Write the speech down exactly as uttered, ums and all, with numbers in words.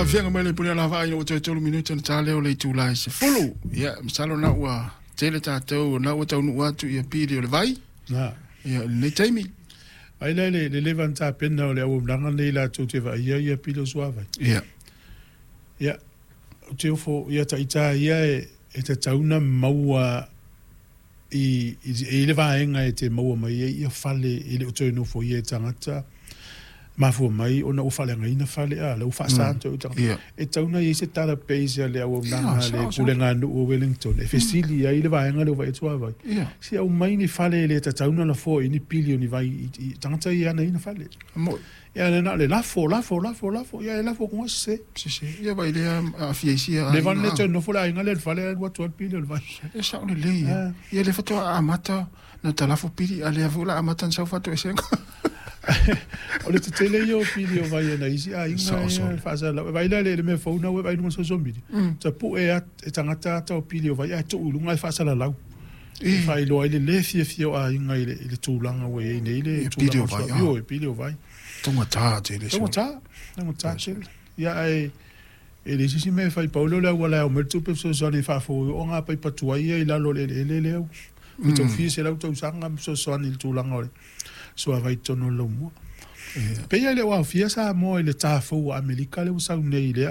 Faafiaga mai le pule ala vaai ua toe tolu minute ona ta lea o le itula e sefulu. Ia, masalo na ua tele tatou na ua taunuu atu ia pili o le vai. Na. Ia, lenei taimi. Ai le le le leva ona tapena o le auaunaga lenei latou te vaaia ia pili o suavai. Ia. Ia, ou te ofo ia ita ia e e tatau ona maua i i le vaega e te maua mai ai ia fale e le o toe nofoia e tagata mafua mai ona ua faaleagaina fale a la ua faasa toe tagata. Ia. E tatau ona i ai se database a le auaunaga Ia, a le sao, sao. Pulega Nuu o Wellington e fesili ai le vaega lea ua vaai atu suavai. Ia. Se aumai ni fale e le tatau ona lafoa i ni pili o ni vai i, i tagata ia e ana ina fale. Mo Ia le na le lafo, lafo, lafo, lafo, ia e lafo kuga se. se se. Ia vai lea aafia i sia Le van le aiga. toe nofo le aiga lea i le fale alu atu ai le pili o le vai. E sao lelei ia. Ah. Ia le faatoa amata na talafo pili a lea foi la amata na sau faatoesega. O le tetele ia o pili o vai e nai isi aiga Sao, sao. ia faasalau. Vai lea le le mea fou na ua vaai i luga o le social media. Tapue at- e tagata ata o pili o vai ae tuu i luga e faasalalau. E faailoa ai le le fiafia o aiga i le, i le tulaga ua i ai nei le Ia, tulaga pili o o vai, sua- ah. Io, e pili o vai. Taugata tele. Taugata, taugata tele. Ia ae e leai se isi mea e fai pau lea o le auala e ao mai le tupe fesoasoani e faafou o ngā paipa tuai ia i lalo o le eleele lea. E tau fia selau tausaga ma fesoasoani i le tulaga o le suavai i totonu o le laumua. Pei e le o aofia Samoa i le tā fou a Amerika lea ua sau nei i le